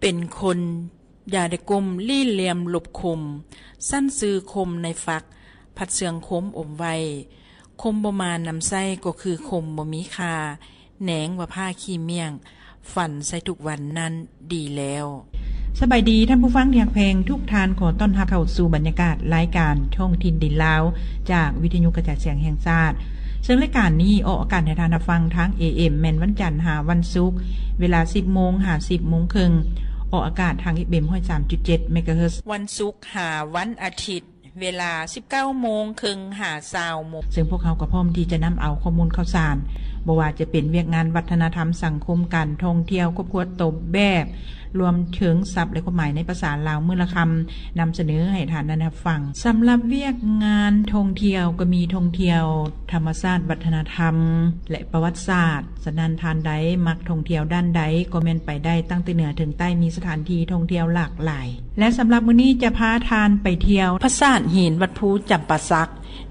ປັນຄົນຢ່າໄດ້ກົ້ມ ຫຼີ້ຫຼ່ຽມຫຼົບຄົມ, ຊັ້ນຊື່ຄົມໃນຝັກ ພັດເຊື່ອງຄົມອົມໄວ້, ຄົມບໍ່ມານຳໃຊ້ ກໍຄືຄົມບໍ່ມີຄ່າ, ແໜງວ່າຜ້າຂີ້ມ້ຽງ ຝັນໃສ່ທຸກວັນນັ້ນດີແລ້ວ. ສະບາຍດີທ່ານຜູ້ຟັງທີ່ຮັກແພງທຸກທ່ານ, ຂໍຕ້ອນຮັບເຂົ້າສູ່ບັນຍາກາດລາຍການທ້ອງຖິ່ນດິນລາວ ຈາກວິທະຍຸກະຈາຍສຽງແຫ່ງຊາດ. ເຊິ່ງລາຍການນີ້ອອກອາກາດໃຫ້ທ່ານຮັບຟັງທາງ ເອເອັມ ແມ່ນວັນຈັນຫາວັນສຸກ ເວລາ ສິບໂມງ ຫາ ສິບໂມງເຄິ່ງ, ອອກອາກາດທາງ ເອເອັມ ຮ້ອຍສາມຈຸດເຈັດ ເມກາເຮີດ. ວັນສຸກຫາວັນອາທິດ ເວລາ ສິບເກົ້າໂມງເຄິ່ງ ຫາ ຊາວໂມງ. ເຊິ່ງພວກເຮົາກໍພ້ອມທີ່ຈະນຳເອົາຂໍ້ມູນຂ່າວສານ, ບໍ່ວ່າຈະເປັນວຽກງານວັດທະນະທຳ, ສັງຄົມ, ການທ່ອງທ່ຽວ, ຄອບຄົວ, ຕົວແບບ, ລວມເຖິງສັບ ແລະ ຄວາມໝາຍໃນພາສາລາວມື້ລະຄຳ, ນຳສະເໜີໃຫ້ທ່ານໄດ້ຮັບຟັງ. ສຳລັບວຽກງານທ່ອງທ່ຽວກໍມີທ່ອງທ່ຽວທຳມະຊາດ, ວັດທະນະທຳ ແລະ ປະຫວັດສາດ. ສະນັ້ນທ່ານໃດມັກທ່ອງທ່ຽວດ້ານໃດ ກໍແມ່ນໄປໄດ້, ຕັ້ງແຕ່ເໜືອເຖິງໃຕ້ ມີສະຖານທີ່ທ່ອງທ່ຽວຫຼາກຫຼາຍ. ແລະ ສຳລັບມື້ນີ້ຈະພາທ່ານໄປທ່ຽວປາສາດຫີນວັດພູຈຳປາສັກ,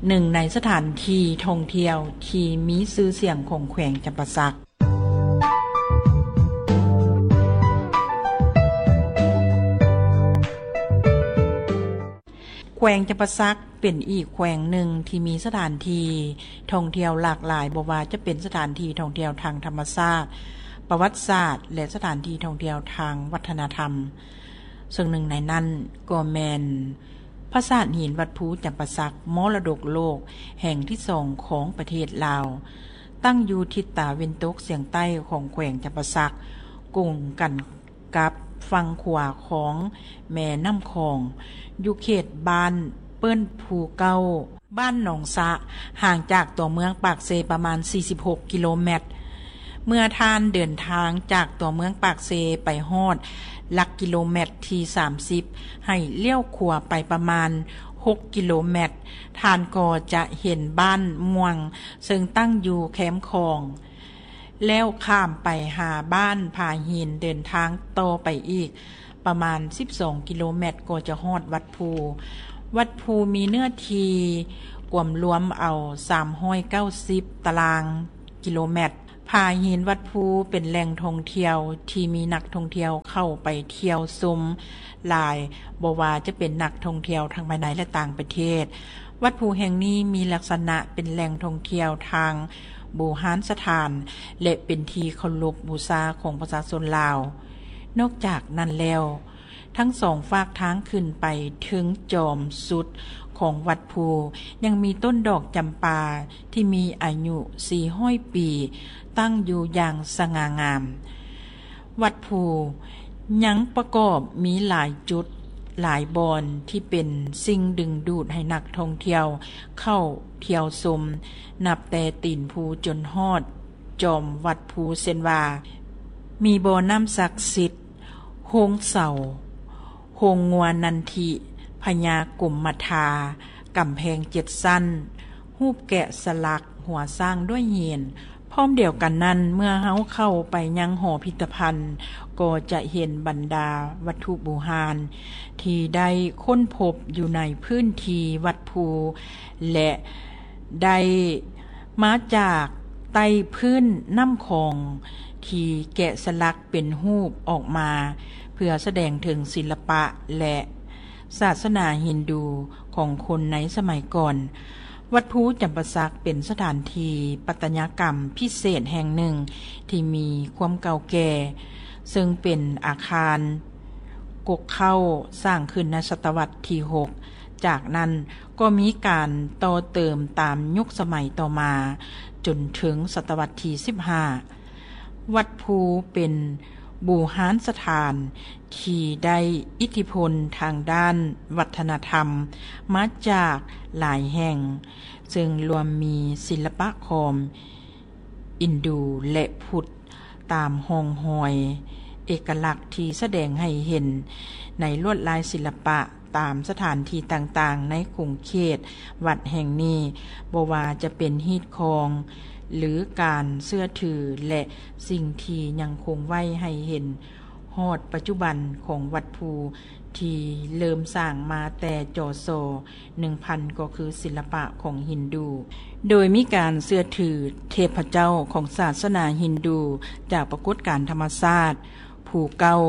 ໜຶ່ງໃນສະຖານທີ່ທ່ອງທ່ຽວທີ່ມີຊື່ສຽງຂອງແຂວງຈຳປາສັກ. ແຂວງຈຳປາສັກເປັນອີກແຂວງໜຶ່ງທີ່ມີສະຖານທີ່ທ່ອງທ່ຽວຫຼາກຫຼາຍ, ບໍ່ວ່າຈະເປັນສະຖານທີ່ທ່ອງທ່ຽວທາງທຳມະຊາດ, ປະຫວັດສາດ ແລະ ສະຖານທີ່ທ່ອງທ່ຽວທາງວັດທະນະທຳ, ເຊິ່ງໜຶ່ງໃນນັ້ນກໍແມ່ນປາສາດຫີນວັດພູຈຳປາສັກ, ມໍລະດົກໂລກແຫ່ງທີສອງຂອງປະເທດລາວ, ຕັ້ງຢູ່ທິດຕາເວັນຕົກສຽງໃຕ້ຂອງແຂວງຈຳປາສັກ, ກົງກັນ ກັບຝັ່ງຂວາຂອງແມ່ນ້ຳຂອງ, ຢູ່ເຂດບ້ານເປີ້ນພູເກົ້າ, ບ້ານໜອງສະ, ຫ່າງຈາກຕົວເມືອງປາກເຊປະມານ ສີ່ສິບຫົກ ກິໂລແມັດ. ເມື່ອທ່ານເດີນທາງຈາກຕົວເມືອງປາກເຊໄປຮອດຫຼັກກິໂລແມັດທີ ສາມສິບ ໃຫ້ລ້ຽວຂວາໄປປະມານ ຫົກ ກິໂລແມັດ, ທ່ານກໍຈະເຫັນບ້ານມ່ວງ ເຊິ່ງຕັ້ງຢູ່ແຄມຂອງ. ແລ້ວຂ້າມໄປຫາບ້ານຜາຫີນ, ເດີນທາງຕໍ່ໄປອີກປະມານ ສິບສອງ ກິໂລແມັດ ກໍຈະຮອດວັດພູ. ວັດພູມີເນື້ອທີ່ກວມລວມເອົາ ສາມຮ້ອຍເກົ້າສິບ ຕາລາງກິໂລແມັດ. ຜາຫີນວັດພູເປັນແຫຼ່ງທ່ອງທ່ຽວທີ່ມີນັກທ່ອງທ່ຽວເຂົ້າໄປທ່ຽວຊົມຫຼາຍ, ບໍ່ວ່າຈະເປັນນັກທ່ອງທ່ຽວທັງພາຍໃນ ແລະ ຕ່າງປະເທດ. ວັດພູແຫ່ງນີ້ມີລັກສະນະເປັນແຫຼ່ງທ່ອງທ່ຽວທາງບູຮານສະຖານ ແລະ ເປັນທີ່ເຄົາລົບບູຊາຂອງປະຊາຊົນລາວ. ນອກຈາກນັ້ນແລ້ວ, ທັງສອງຟາກທາງຂຶ້ນໄປເຖິງຈອມສຸດຂອງວັດພູ ຍັງມີຕົ້ນດອກຈຳປາທີ່ມີອາຍຸ ສີ່ຮ້ອຍປີ ຕັ້ງຢູ່ຢ່າງສະຫງ່າງາມ. ວັດພູຍັງປະກອບມີຫຼາຍຈຸດ, ຫຼາຍບ່ອນທີ່ເປັນສິ່ງດຶງດູດໃຫ້ນັກທ່ອງທ່ຽວເຂົ້າທ່ຽວຊົມ, ນັບແຕ່ຕີນພູຈົນຮອດຈອມວັດພູ, ເຊັ່ນວ່າ ມີບໍ່ນ້ຳສັກສິດ, ໂຮງເສົາ, ໂຮງງົວນັນທິ, ພະຍາກົມມະທາ, ກຳແພງເຈັດຊັ້ນ, ຮູບແກະສະຫຼັກຫົວຊ້າງດ້ວຍຫີນ. ພ້ອມດຽວກັນນັ້ນ, ເມື່ອເຮົາເຂົ້າໄປຍັງຫໍພິພິທະພັນ, ກໍຈະເຫັນບັນດາວັດຖຸບູຮານທີ່ໄດ້ຄົ້ນພົບຢູ່ໃນພື້ນທີ່ວັດພູ ແລະ ໄດ້ມາຈາກໃຕ້ພື້ນນ້ຳຂອງທີ່ແກະສະຫຼັກເປັນຮູບອອກມາ ເພື່ອສະແດງເຖິງສິລະປະ ແລະ ສາສະໜາຮິນດູຂອງຄົນໃນສະໄໝກ່ອນ. ວັດພູຈຳປາສັກເປັນສະຖານທີ່ປັດຕະຍາກຳພິເສດແຫ່ງໜຶ່ງທີ່ມີຄວາມເກົ່າແກ່, ເຊິ່ງເປັນອາຄານກົກເຄົ້າສ້າງຂຶ້ນໃນສະຕະວັດທີຫົກ. ຈາກນັ້ນກໍມີການຕໍ່ເຕີມຕາມຍຸກສະໄໝຕໍ່ມາ ຈົນເຖິງສະຕະວັດທີສິບຫ້າ. ວັດພູເປັນບູຮານສະຖານທີ່ໄດ້ອິດທິພົນທາງດ້ານວັດທະນະທຳມາຈາກຫຼາຍແຫ່ງ, ເຊິ່ງລວມມີສິລະປະຂອງອິນດູ ແລະ ພຸດ ຕາມຮ່ອງຮອຍເອກະລັກທີ່ສະແດງໃຫ້ເຫັນໃນລວດລາຍສິລະປະຕາມສະຖານທີ່ຕ່າງໆໃນຂົງເຂດວັດແຫ່ງນີ້, ບໍ່ວ່າຈະເປັນຮີດຄອງ ຫຼື ການເຊື່ອຖື ແລະ ສິ່ງທີ່ຍັງຄົງໄວ້ໃຫ້ເຫັນຮອດປັດຈຸບັນຂອງວັດພູ ທີ່ເລີ່ມສ້າງມາແຕ່ ຈສ ໜຶ່ງພັນ ກໍຄືສິລະປະຂອງຮິນດູ, ໂດຍມີການເຊື່ອຖືເທບພະເຈົ້າຂອງສາສະໜາຮິນດູ ຈາກປາກົດການທຳມະຊາດ ພູເກົ່າ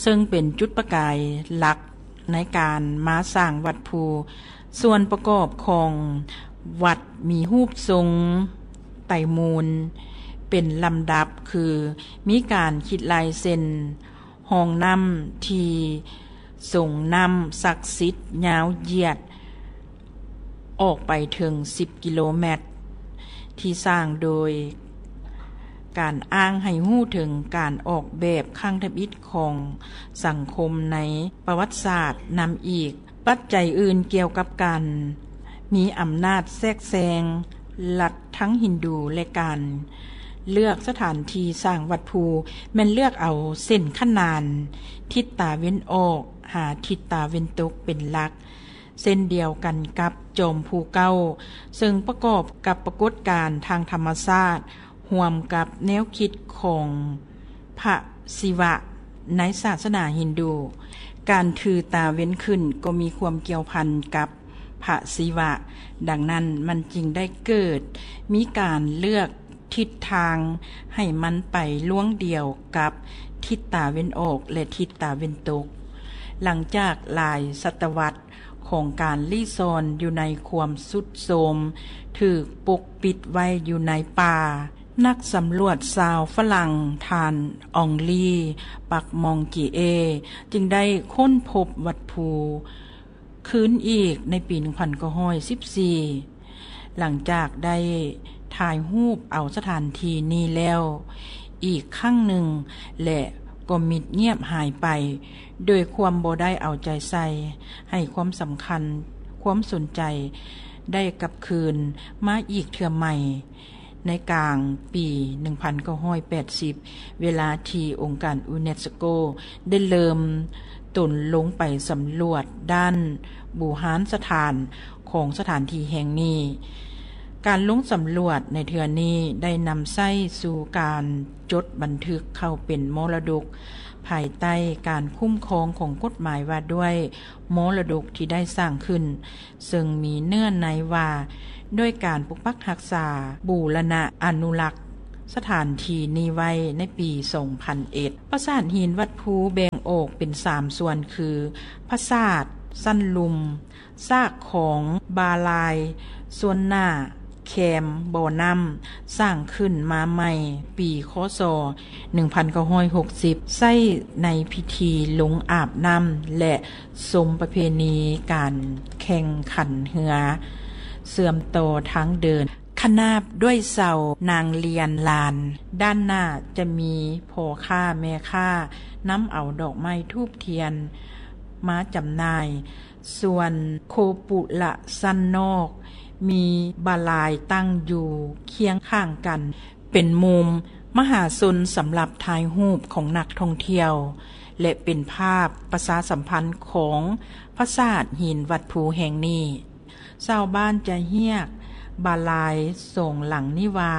ເຊິ່ງເປັນຈຸດປະກາຍຫຼັກໃນການມາສ້າງວັດພູ. ສ່ວນປະກອບຂອງວັດມີຮູບຊົງໄຕມູນເປັນລຳດັບ ຄື ມີການຂີດລາຍເສັ້ນຮ່ອງນ້ຳທີ່ຊົງນ້ຳສັກສິດຍາວຢຽດ ອອກໄປເຖິງສິບກິໂລແມັດ ທີ່ສ້າງໂດຍການອ້າງໃຫ້ຮູ້ເຖິງການອອກແບບຄັ້ງທຳອິດຂອງສັງຄົມໃນປະຫວັດສາດນຳອີກ. ປັດໄຈອື່ນກ່ຽວກັບການມີອຳນາດແຊກແຊງລັດທັງຮິນດູ ແລະ ການເລືອກສະຖານທີ່ສ້າງວັດພູ ແມ່ນເລືອກເອົາເສັ້ນຂະໜານທິດຕາເວັນອອກຫາທິດຕາເວັນຕົກເປັນຫຼັກ. ເຊັ່ນດຽວກັນກັບຈອມພູເກົ່າ ເຊິ່ງປະກອບກັບປາກົດການທາງທຳມະຊາດ ຮ່ວມກັບແນວຄິດຂອງພະສິວະໃນສາສະໜາຮິນດູ. ການຖືຕາເວັນຂຶ້ນກໍມີຄວາມກ່ຽວພັນກັບພະສິວະ, ດັ່ງນັ້ນມັນຈຶ່ງໄດ້ເກີດມີການເລືອກທິດທາງໃຫ້ມັນໄປລວງດຽວກັບທິດຕາເວັນອອກ ແລະ ທິດຕາເວັນຕົກ. ຫຼັງຈາກຫຼາຍສະຕະວັດ ຂອງການລີ້ຊ່ອນຢູ່ໃນຄວາມຊຸດໂຊມ, ຖືກປົກປິດໄວ້ຢູ່ໃນປ່າ. ນັກສຳຫຼວດຊາວຝຣັ່ງ ທ່ານ ອອງລີ ປັກມອງກີເອ ຈຶ່ງໄດ້ຄົ້ນພົບວັດພູຄືນອີກໃນປີໜຶ່ງພັນເກົ້າຮ້ອຍສິບສີ່. ຫຼັງຈາກໄດ້ຖ່າຍຮູບເອົາສະຖານທີ່ນີ້ແລ້ວອີກຄັ້ງໜຶ່ງ ແລະ ກໍມິດງຽບຫາຍໄປ ໂດຍຄວາມບໍ່ໄດ້ເອົາໃຈໃສ່, ໃຫ້ຄວາມສຳຄັນ, ຄວາມສົນໃຈໄດ້ກັບຄືນມາອີກເທື່ອໃໝ່ ໃນກາງປີໜຶ່ງພັນເກົ້າຮ້ອຍແປດສິບ ເວລາທີ່ອົງການຢູເນສໂກໄດ້ເລີ່ມຕົນລົງໄປສຳຫຼວດດ້ານບູຮານສະຖານຂອງສະຖານທີ່ແຫ່ງນີ້. ການລົງສຳຫຼວດໃນເທື່ອນີ້ໄດ້ນຳໃຊ້ສູ່ການຈົດບັນທຶກເຂົ້າເປັນມໍລະດົກ ພາຍໃຕ້ການຄຸ້ມຄອງຂອງກົດໝາຍວ່າດ້ວຍມໍລະດົກທີ່ໄດ້ສ້າງຂຶ້ນ, ເຊິ່ງມີເນື້ອໃນວ່າດ້ວຍການປົກປັກຮັກສາ, ບູລະນະອະນຸລັກສະຖານທີ່ນີ້ໄວ້ໃນປີສອງພັນເອັດ. ປາສາດຫີນວັດພູແບ່ງອອກເປັນສາມສ່ວນ ຄື ປາສາດຊັ້ນລຸ່ມ, ຊາກຂອງບາລາຍສ່ວນໜ້າ, ແຄມບໍ່ນ້ຳ ສ້າງຂຶ້ນມາໃໝ່ປີ ຄ.ສ. ໜຶ່ງພັນເກົ້າຮ້ອຍຫົກສິບ ໃຊ້ໃນພິທີລົງອາບນ້ຳ ແລະ ຊົມປະເພນີການແຂ່ງຂັນເຮືອ ເຊື່ອມຕໍ່ທາງເດີນຂະໜາບດ້ວຍເສົານາງລຽນລານ. ດ້ານໜ້າຈະມີພໍ່ຄ້າແມ່ຄ້ານຳເອົາດອກໄມ້ທູບທຽນມາຈຳໜ່າຍ. ສ່ວນໂຄປຸລະຊັ້ນນອກ ມີບາລາຍຕັ້ງຢູ່ຄຽງຂ້າງກັນ ເປັນມຸມມະຫາຊົນສຳລັບຖ່າຍຮູບຂອງນັກທ່ອງທ່ຽວ ແລະ ເປັນພາບປະຊາສຳພັນຂອງປາສາດຫີນວັດພູແຫ່ງນີ້. ຊາວບ້ານຈະຮຽກບາລາຍສອງຫຼັງນີ້ວ່າ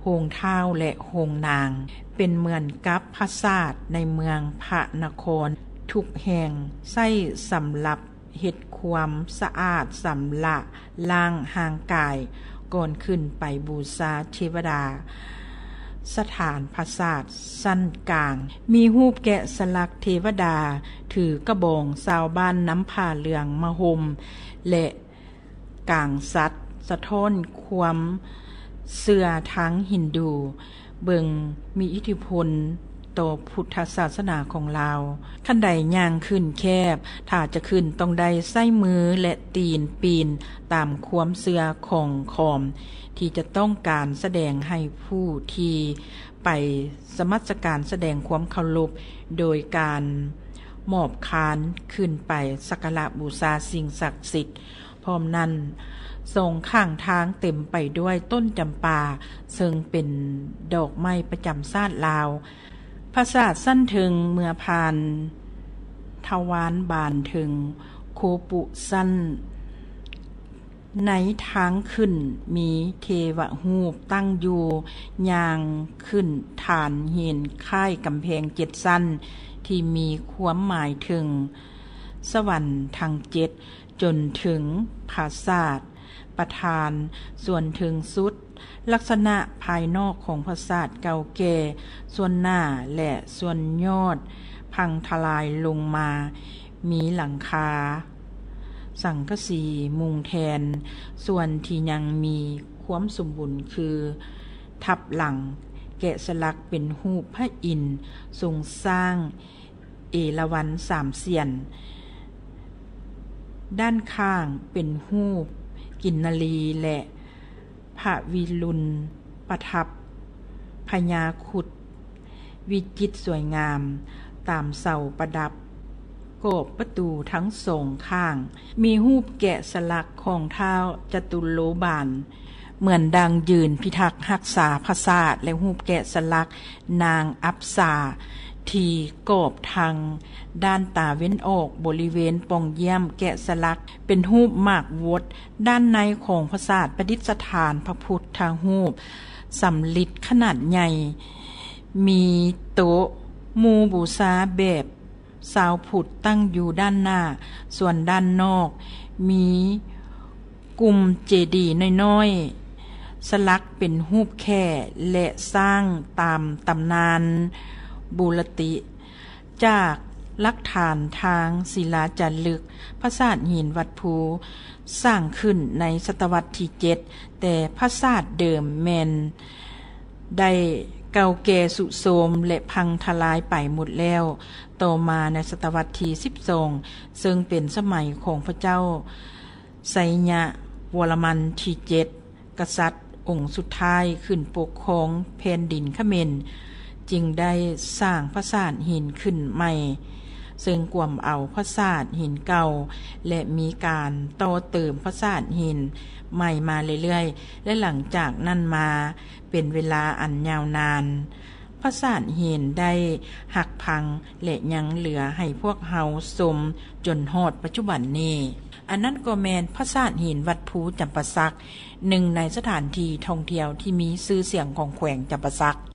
ໂຮງທ້າວ ແລະ ໂຮງນາງ, ເປັນເໝືອນກັບປາສາດໃນເມືອງພະນະຄອນທຸກແຫ່ງ ໃຊ້ສຳລັບເຮັດຄວາມສະອາດ, ຊຳລະລ້າງຮ່າງກາຍ ກ່ອນຂຶ້ນໄປບູຊາເທວະດາ. ສະຖານປາສາດຊັ້ນກາງ ມີຮູບແກະສະຫຼັກເທວະດາຖືກະບອງ, ຊາວບ້ານນຳຜ້າເຫຼືອງມາຫົ່ມ ແລະ ກາງສັດ ສະທ້ອນຄວາມເຊື່ອທາງຮິນດູ ເບິ່ງມີອິດທິພົນຕໍ່ພຸດທະສາສະໜາຂອງລາວ. ຄັນໃດຍ່າງຂຶ້ນແຄບ, ຖ້າຈະຂຶ້ນຕ້ອງໄດ້ໃຊ້ມື ແລະ ຕີນປີນຕາມຄວາມເຊື່ອຂອງຂອມ ທີ່ຈະຕ້ອງການສະແດງໃຫ້ຜູ້ທີ່ໄປສະໝັດສະການສະແດງຄວາມເຄົາລົບ ໂດຍການໝອບຄານຂຶ້ນໄປສັກກາລະບູຊາສິ່ງສັກສິດ. ພ້ອມນັ້ນ, ສອງຂ້າງທາງເຕັມໄປດ້ວຍຕົ້ນຈຳປາ, ເຊິ່ງເປັນດອກໄມ້ປະຈຳຊາດລາວ. ປາສາດຊັ້ນເທິງເມື່ອຜ່ານທະວານບານເທິງ, ໂຄປຸຊັ້ນໃນທາງຂຶ້ນມີເທວະຮູບຕັ້ງຢູ່, ຍ່າງຂຶ້ນຖານຫີນຄ້າຍກຳແພງເຈັດຊັ້ນ ທີ່ມີຄວາມໝາຍເຖິງສະຫວັນທັງເຈັດ ຈົນເຖິງປາສາດ ປະທານສ່ວນເທິງສຸດ. ລັກສະນະພາຍນອກຂອງປາສາດເກົ່າແກ່ສ່ວນໜ້າ ແລະ ສ່ວນຍອດພັງທະລາຍລົງມາ, ມີຫຼັງຄາສັງກະສີມຸງແທນ. ສ່ວນທີ່ຍັງມີຄວາມສົມບູນຄື ທັບຫຼັງແກະສະຫຼັກເປັນຮູບພະອິນຊົງຊ້າງເອລາວັນສາມສຽນ, ດ້ານຂ້າງເປັນຮູບກິນນະລີ ແລະ ພະວິລຸນປະທັບພະຍາຄຸດ ວິຈິດສວຍງາມຕາມເສົາປະດັບກອບປະຕູທັງສອງຂ້າງ. ມີຮູບແກະສະຫຼັກຂອງທ້າວຈະຕຸໂລບານ ເໝືອນດັ່ງຢືນພິທັກຮັກສາປາສາດ ແລະ ຮູບແກະສະຫຼັກນາງອັບສາທີ່ກອບທາງດ້ານຕາເວັນອອກ. ບໍລິເວນປ່ອງຢ້ຽມແກະສະຫຼັກເປັນຮູບໝາກວົດ. ດ້ານໃນຂອງປາສາດປະດິດສະຖານພະພຸດທະຮູບສຳລິດຂະໜາດໃຫຍ່, ມີໂຕະໝູບູຊາແບບຊາວພຸດຕັ້ງຢູ່ດ້ານໜ້າ, ສ່ວນດ້ານນອກມີກຸ່ມເຈດີນ້ອຍໆ ສະຫຼັກເປັນຮູບແຂ້ ແລະ ສ້າງຕາມຕຳນານບູລະຕິ. ຈາກຫຼັກຖານທາງສິລາຈາລຶກ, ປາສາດຫີນວັດພູສ້າງຂຶ້ນໃນສະຕະວັດທີເຈັດ, ແຕ່ປາສາດເດີມແມ່ນໄດ້ເກົ່າແກ່ຊຸໂຊມ ແລະ ພັງທະລາຍໄປໝົດແລ້ວ. ຕໍ່ມາໃນສະຕະວັດທີສິບສອງ ເຊິ່ງເປັນສະໄໝຂອງພະເຈົ້າໄຊຍະວໍລະມັນທີເຈັດ ກະສັດອົງສຸດທ້າຍຂຶ້ນປົກຄອງແຜ່ນດິນຂະເໝນ, ຈຶ່ງໄດ້ສ້າງປາສາດຫີນຂຶ້ນໃໝ່, ເຊິ່ງກວມເອົາປາສາດຫີນເກົ່າ ແລະ ມີການຕໍ່ເຕີມປາສາດຫີນໃໝ່ມາເລື້ອຍໆ ແລະ ຫຼັງຈາກນັ້ນມາເປັນເວລາອັນຍາວນານ, ປາສາດຫີນໄດ້ຫັກພັງ ແລະ ຍັງເຫຼືອໃຫ້ພວກເຮົາຊົມຈົນຮອດປັດຈຸບັນນີ້. ອັນນັ້ນກໍແມ່ນປາສາດຫີນວັດພູຈຳປາສັກ, ໜຶ່ງໃນສະຖານທີ່ທ່ອງທ່ຽວທີ່ມີຊື່ສຽງຂອງແຂວງຈຳປາສັກ.